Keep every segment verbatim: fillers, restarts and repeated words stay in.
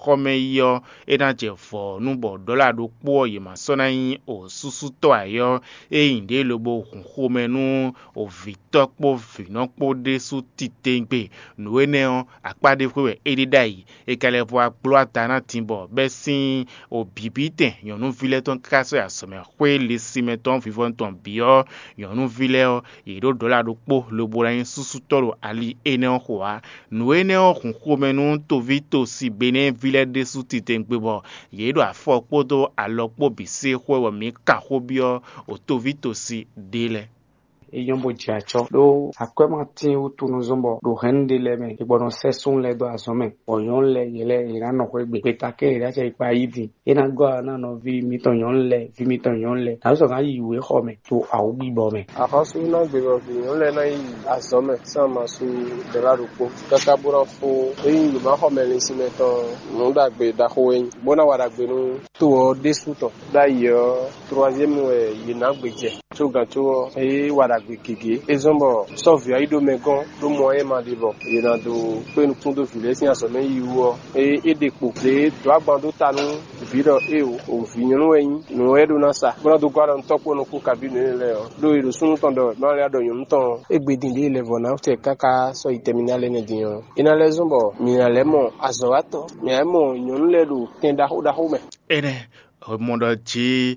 xɔmɛ yi ɔ́, é ná jɛ vɔ̌ nú bɔ ɖɔ̌la ɖokpó ɔ́ yě ma sɔ́ ná nyí osúsútɔ́ ǎ é ɔ́, é nyi ɖě lobo hun xomɛ nú ovǐtɔ́ kpó vǐnɔ kpó ɖésú titewungbe. Nǔ énɛ́ ɔ́, akpá ɖé xwé wɛ é ɖe ɖ'ayǐ. È ka lɛ́ vɔ wá gbló ada ná din bɔ bɛ́ sín obǐbítɛn nyɔ̌nuví lɛ́ɛ tɔn káká sɔ́ yi azɔ̌mɛ xwé lisinmɛ tɔn vivɔnu tɔn bǐ ɔ́, nyɔ̌nuví lɛ́ɛ ɔ́, yě ɖó ɖɔ̌la ɖokpó lobo ná nyí súsútɔ́ ɖo ali énɛ́ ɔ́ xo ǎ. Nǔ énɛ́ ɔ́ hun xomɛ nú toví tosi Benɛ́ɛví lɛ́ɛ ɖésú titewungbe bɔ yě ɖo afɔ kpódó alɔ kpó bǐ se xwɛ bɔ mǐ kan xó byɔ́ o toví tosi ɖé lɛ́ɛ. É nyɔ́ bó jɛ acɔ́ ɖó akwɛ́má tín wútu nɔ zɔ́n bɔ ɖo hɛ̌nnu ɖé lɛ́ɛ mɛ, è gbɔ nɔ sɛ́ súnnu lɛ́ɛ dó azɔ̌ mɛ, bɔ nyɔ̌nu lɛ́ɛ yě lɛ́ yě ná nɔ xwé gbe. Gbeta kɛ́n yě ná cɛ yi kpa yí din. É ná gɔ́ ná nɔví mǐtɔn nyɔ̌nu lɛ́ɛ, ví mǐtɔn nyɔ̌nu lɛ́ɛ, nǎ sɔ́ ná yi wěxɔ mɛ ɖo awǔgbígbɔ mɛ. Axɔ́sú ná gbe bɔ vǐ nyɔ̌nu lɛ́ɛ ná yi azɔ̌ mɛ sín amasu ɖɛ̌la ɖokpó káká bó ná fó. Ényí yě má xɔ mɛ linsin mɛ tɔn nǔ ɖagbe ɖaxó é nyí, bó ná wa ɖagbe nú to ɔ́ ɖésú tɔn. Ɖ'ayǐ ɔ́, troaziɛ́mu wɛ yě ná gbe jɛ. Có gǎn có ɔ́, é wa ɖagbe gěgé. É zɔ́n bɔ sɔ́ vǐ ɔ́ yi ɖó mɛ gɔ́n ɖó mɔ ɔ́ é ma ɖe bɔ yě ná dó kpé nukún dó vǐ lɛ́ɛ sín azɔ̌ mɛ yiyi wú ɔ́, é é ɖe kpo. Lě e dǒ agban dó ta nú vǐ ɖɔ éeǒ, vǐ nyɔ̌nu wɛ nyí, nǔ wɛ é ɖó ná sa, bó ná dó gɔ́ alɔ nú tɔ́ kpó nɔ kú kabí nǔ énɛ́ lɛ́ɛ ɔ́, ɖó è ɖo súnnu tɔn ɖɔ má lɛ́ ɖɔ nyɔ̌nu tɔn ɔ́, é gbe din ɖě lɛ́ vɔ ná tɛ káká sɔ́ yi tɛmíná lɛ́ɛ nɛ́ din ɔ́, é ná lɛ́ zɔ́n bɔ mǐ ná lɛ́ mɔ azɔ̌watɔ́, mǐ ná mɔ nyɔ̌nu lɛ́ɛ ɖo tɛn ɖaxó ɖaxó mɛ. Énɛ́, è mɔ ɖɔ jí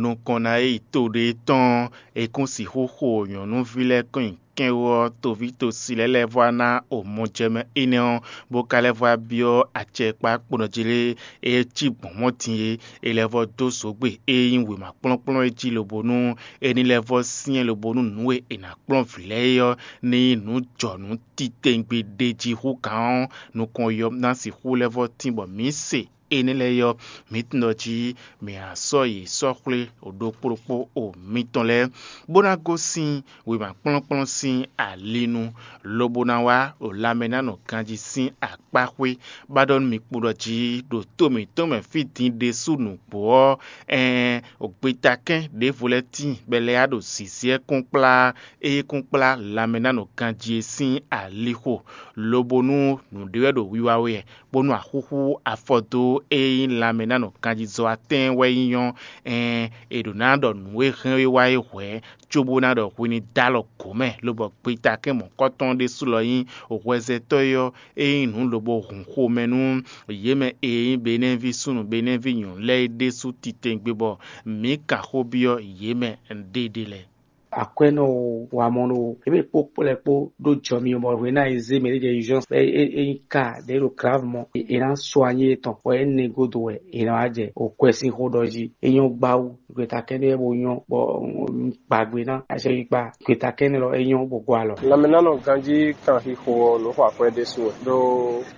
nukɔn ná yi to ɖé tɔn, è kún sixú xo nyɔ̌nuví lɛ́ɛ kɔn nyi kɛ́n wú ɔ́, toví tosi lɛ́ɛ lɛ́ vɔ ná o mɔjɛmɛ énɛ́ ɔ́, bó ka lɛ́ vɔ byɔ́ acɛkpá kponɔ jí lé, é cí gbɔ̌n mɔ̌ din é, è lɛ́ vɔ dó zǒgbe e nyí wěma kplɔ́nkplɔ́n é jí lobo nú é ní lɛ́ vɔ syɛ́n lobo nú nǔ e è nǎ kplɔ́n vǐ lɛ́ɛ é ɔ́, ní nyí nǔ jɔ nǔ titewungbe ɖe jí hú gǎn ɔ́, nukɔn yɔ ná sixú lɛ́ vɔ tín bɔ mǐ se. Énɛ́ lɛ́ɛ ɔ́, mǐ tunwun ɖɔ jí mǐ ná sɔ́ yě sɔ́ xwlé ɖokpó ɖokpó o mitɔn lɛ́ɛ, bó ná gosín wěma kplɔ́nkplɔ́n sín ali nu, lobo ná wá ɖo lanmɛ ná nɔ ganjí sín akpá xwé. Ba ɖɔ nú mì kpo ɖɔ jí ɖo to mǐtɔn mɛ fí din ɖésú nǔgbó ɔ́, ɛɛn, gbeta kɛ́n ɖěvo lɛ́ɛ tíin bɔ è lɛ́ yá ɖo zǐzí ɛ kún kplá, é kún kplá lanmɛ ná nɔ ganjí é sín alixo, lobo nú nǔɖé wɛ ɖo wiwa wɛ, bónú axúxú afɔ dó e nyí lanmɛ ná nɔ ganjizɔ atɛ́ɛn wɛ nyí ɔ́, ɛɛn, è ɖǒ ná ɖɔ nǔ e hɛn é wá é hwɛ̌, cóbó ná ɖɔ hwi ní dó alɔ gǒ mɛ, lobɔ gbetakɛ́n mɔ̌kɔtɔn ɖésú lɔ nyí hwɛzɛtɔ́ é ɔ́, é nyí nǔ lobo hun xomɛ nú yě mɛ e nyí Benɛ́ví súnnu Benɛ́ví nyɔ̌nu lɛ́ɛ é ɖésú titewungbe bɔ mǐ kan xó byɔ́ yě mɛ ɖéɖé lɛ́ɛ. Akwɛ́nɔ o, wamɔnɔ o, ebe kpó kplɛ́ kpó ɖó jɔ mi bɔ hwe ná e zé mɛ ɖé jɛ urgence bɔ é é nyí ka ɖě ɖo grave mɔ, è nǎ sɔ anyi étɔn bɔ é nɛ godo wɛ è nǎ wá jɛ o kwɛ sín xó ɖɔ jí. É nyɔ́ gbáwú, gbeta kɛ́nɛ́ bo nyɔ́ bɔ gbàgbé ná acɛyikpa gbeta kɛ́nɛ́ lɔ é nyɔ́ bo gɔ alɔ. Lanmɛnánɔ ganjí kan xixo ɔ́ nǔ xɔ akwɛ́ ɖésú wɛ, ɖó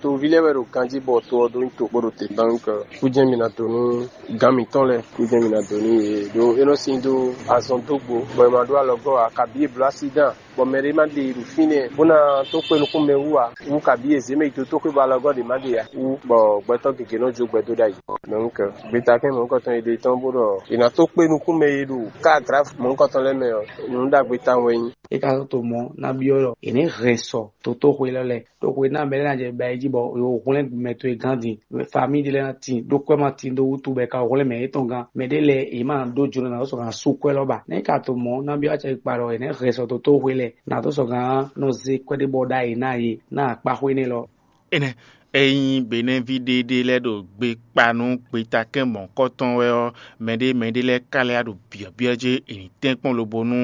toví lɛ́ɛ wɛ ɖo ganjí bɔ to ɔ́ ɖó nyí to bó ɖo te. Donc kújɛ́n mi ná dó nú gǎn mǐtɔn lɛ́ɛ, kújɛ́n mi ná dó nú yě, ɖó é nɔ sín dó azɔn dó gbo, bɔ è ma ɖó alɔgɔ́ ǎ, kabí è bló accident, bɔ mɛ ɖé ma ɖe ɖo fínɛ́, bó ná tó kpé nukún mɛ wú ǎ, wú kabí è zě mɛ yi dó tó xwé bɔ alɔgɔ́ ɖě ma ɖe ǎ, wú bɔ gbɛtɔ́ gěgé nɔ jó gbɛ dó ɖ'ayǐ. Donc gbeta kɛ́n mɔ̌hunkɔtɔn e ɖe tɔn bó ɖɔ è nǎ tó kpé nukún mɛ e ɖo ká grave mɔ̌hunkɔtɔn lɛ́ɛ mɛ ɔ́, nǔ ɖagbe tawun wɛ nyí. É ka tó mɔ ná byɔ́ ɖɔ è nɛ̌ hɛn sɔ totóxwe lɛ́ɛ lɛ́ɛ. Ɖó hwe ná mɛ lɛ́ɛ ná jɛ ba yi jí bɔ yǒ hwlɛ́n mɛ towe gán din. Famíi ɖé lɛ́ɛ ná tin, ɖó kwɛ́ ma tin dó wútu bɔ è ka hwlɛ́n mɛ yětɔn gán. Mɛ ɖé lɛ́ɛ yě ma ɖó jló ná dó sɔ́ gǎn sú kwɛ́ lɔ ba. Nɛ̌ ka to mɔ̌ ná byɔ́ acɛ kpa ɖɔ è nɛ̌ hɛn sɔ totóxwe lɛ́ɛ ná dó sɔ́ gǎn nɔ zé kwɛ́ ɖé bɔ ɖ'ayǐ ná yě ná akpá xwé nɛ́ lɔ. Énɛ́, ényí Benɛ́ví ɖéɖé lɛ́ɛ ɖo gbe kpa nú gbetakɛ́n mɔ̌hunkɔtɔn wɛ ɔ́, mɛɖé mɛɖé lɛ́ɛ ka lɛ́ ɖo byɔ̌byɔ́ jɛ è nǐ tɛ́nkpɔ́n lobo nú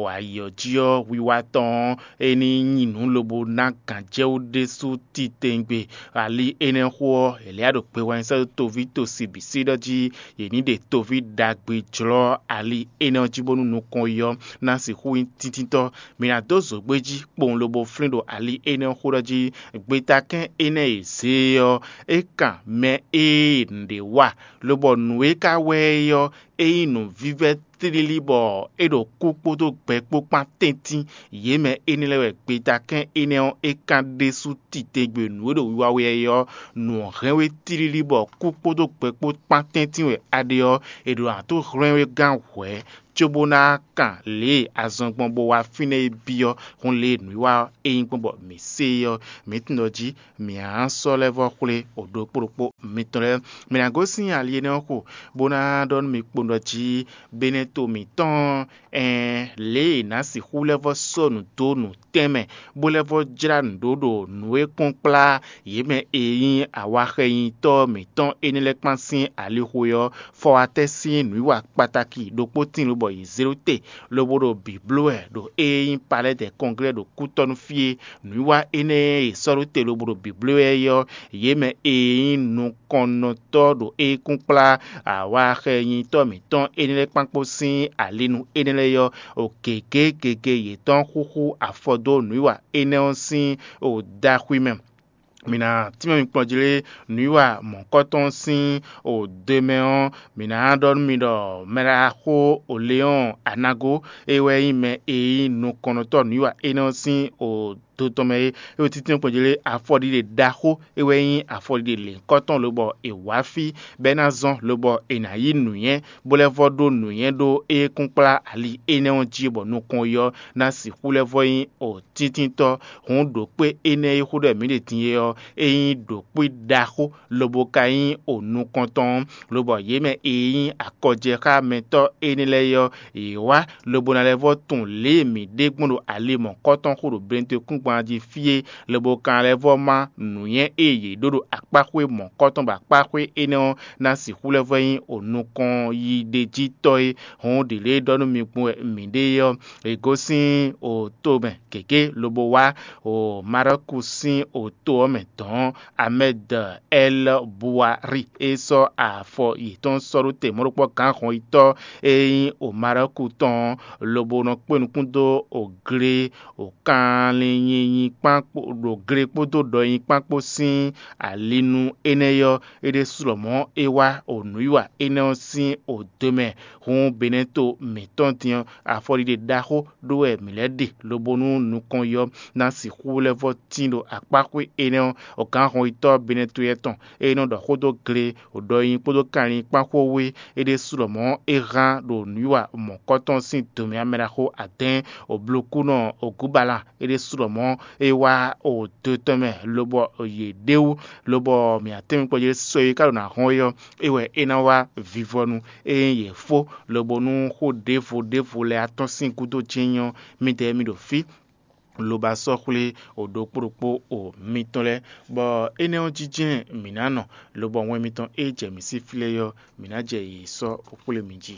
ayǐ ɔ́ jí ɔ́, wiwa tɔn ɔ́, é ní nyí nǔ lobo ná gǎnjɛwú ɖésú titewungbe. Ali énɛ́ xó ɔ́, è lɛ́ ɖo gbe wɛn sɛ́ dó toví tosi bǐ sí ɖɔ jí yě ní ɖe toví ɖagbe jlɔ́ ali énɛ́ ɔ́ jí bónú nukɔn yi ɔ́ ná sixú nyí tíntítɔ́. Mǐ ná dó zǒgbé jí kpowun lobo flín ɖo ali énɛ́ xó ɖɔ jí gbetakɛ́n énɛ́ e zě é ɔ́, é kan mɛ e nǔɖé wa, lobɔ nǔ e ka wɛ é ɔ́, é nyí nǔvívɛ́ tlílí bɔ é ɖo kú kpódó gbɛ kpó kpán tɛ́ntin. Yě mɛ énɛ́ lɛ́ɛ wɛ gbetakɛ́n énɛ́ ɔ́ é kán ɖésú titewungbe nǔ e ɖo wiwa wɛ é ɔ́, nǔ ɔ́ hɛn we tlílí bɔ kú kpódó gbɛ kpó kpán tɛ́ntin wɛ a ɖe ɔ́, è ɖǒ ná tó hwlɛ́n we gán hwɛ̌ cóbó ná kan lě e azɔn gbɔn bó wá fínɛ́ é byɔ́. Hǔn lě e nǔwiwa ɔ́ é nyí gbɔn bɔ mǐ se é ɔ́, mǐ tunwun ɖɔ jí mǐ á sɔ́ lɛ́ vɔ́ xwlé o ɖokpó ɖokpó mitɔn lɛ́ɛ. Mǐ ná gosín ali énɛ́ ɔ́ xo, bó ná ɖɔ nú mi kpowun ɖɔ jí beneto mǐtɔn ɛn lě e è nǎ sixú lɛ́ vɔ́ sɔ́ nǔ dó nǔ tɛnmɛ, bó lɛ́ vɔ́ jlá nǔ ɖó ɖo nǔ e kpɔ́n kplá yě mɛ e nyí awaxɛnyitɔ́ mǐtɔn énɛ́ lɛ́ɛ kpán sín alixo ɔ́, fɔwatɛ́ sín nǔwiwa kpataki ɖokpó tíin lobɔ yě zé ɖó te, lobo ɖo bǐ bló wɛ ɖo ée nyí Palɛ́dɛ Kɔnglɛ́ ɖo kútɔ́ nú fí é. Nǔwiwa énɛ́ e è sɔ́ ɖó te lobo ɖo bǐ bló wɛ é ɔ́, yě mɛ e nyí nukɔnnɔtɔ́ ɖo é kún kplá awaxɛnyitɔ́ mǐtɔn énɛ́ lɛ́ɛ kpán kpó sín alinu énɛ́ lɛ́ɛ ɔ́, o gěgé gěgé yětɔn xúxú afɔ dó nǔwiwa énɛ́ ɔ́ sín o ɖaxwi mɛ. Mǐ ná tínmɛ mi kplɔ́n jí lé nǔwiwa mɔ̌kɔtɔn sín o do mɛ ɔ́, mǐ ná ɖɔ nú mi ɖɔ mɛɖaxó Oleɔ́n Anago é wɛ nyí mɛ e nyí nukɔnnɔtɔ́ nǔwiwa énɛ́ ɔ́ sín o do tɔn mɛ é. É wɛ títí kpɔ́n jí lé afɔɖiɖe ɖaxó é wɛ nyí afɔɖiɖe lěhunkɔtɔn lobɔ è wǎ fí bɔ é ná zɔ́n lobɔ è nǎ yí nǔnywɛ́ bó lɛ́ vɔ́ ɖó nǔnywɛ́ ɖó é kún kplá ali énɛ́ ɔ́ jí bɔ nukɔn yi ɔ́ ná sixú lɛ́ vɔ́ nyí o tíntínntɔ́. Hǔn ɖǒkpé énɛ́ e xó ɖɔ mǐ ɖe din é ɔ́, é nyí ɖǒkpé ɖaxó, lobo ka nyí o nukɔntɔn ɔ́, lobɔ yě mɛ e nyí akɔjɛxámɛtɔ́ énɛ́ lɛ́ɛ é ɔ́, yě wá lobo ná lɛ́ vɔ́ tunwun lě e mǐ ɖe gbɔn ɖo ali mɔ̌kɔtɔn xo ɖo Benetokúngban jí fí é, lobo ka ná lɛ́ vɔ́ má nǔnywɛ́ e yě ɖó ɖo akpáxwé mɔ̌kɔtɔn bɔ akpáxwé énɛ́ ɔ́ ná sixú lɛ́ vɔ́ nyí o nukɔn yi ɖ'é jí tɔ́ é. Hǔn ɖǐ lě e ɖɔ nú mi gbɔn wɛ mǐ ɖe é ɔ́, è gosín o to mɛ gěgé lobo wá o Marɔku sín o to ɔ́ mɛ dɔ̌n Amɛ́d Ɛl Buwari e sɔ́ afɔ yětɔn sɔ́ ɖó te mɔ̌ɖokpɔ́ gǎn hɔnyitɔ́ e nyí o Marɔku tɔn ɔ́, lobo nɔ kpé nukún dó o gle o kanlin nyinyi kpán kpó ɖo gle kpódó ɖɔ nyi kpán kpó sín alinu énɛ́ ɔ́, é ɖésú lɔmɔ̌ é wá o nǔwiwa énɛ́ ɔ́ sín o do mɛ. Hǔn Benɛto mǐtɔn din ɔ́, afɔɖiɖe ɖaxó ɖó wɛ mǐ lɛ́ ɖe lobo nú nukɔn yi ɔ́ ná sixú lɛ́ vɔ́ tín ɖo akpáxwé énɛ́ ɔ́, o gǎn hɔnyitɔ́ Benɛto yɛ́ tɔn e nɔ ɖɔ xó dó gle ɖɔ nyi kpódó kanlin kpán xó wú é ɖésú lɔmɔ̌ é hán ɖo nǔwiwa mɔ̌kɔtɔn sín dǒmɛ amɛɖaxó adɛ́ɛn, oblokúnɔ Ogúbalán é ɖésú lɔmɔ̌ é wá o do tɔn mɛ lobɔ yě ɖ'é wú, lobɔ mǐ atɛ́nmɛ kpɔ́ yě sɔ́ é ká ɖo nǎ hɔn é ɔ́, é wɛ é ná wá vivɔnu. Ényí yě fó lobo nú xó ɖěvo ɖěvo lɛ́ɛ atɔ́n sín gúdo jɛ́n nyí ɔ́, midɛɛ mi ɖo fí lobo sɔ́ xwlé o ɖokpó ɖokpó o mitɔn lɛ́ɛ, bɔ énɛ́ ɔ́ jínjɛ́n mǐ ná nɔ, lobɔ wɛn mitɔn e jɛ mǐ sín flɛ́ ɔ́, mǐ ná jɛ yě sɔ́ xwlé mi jí.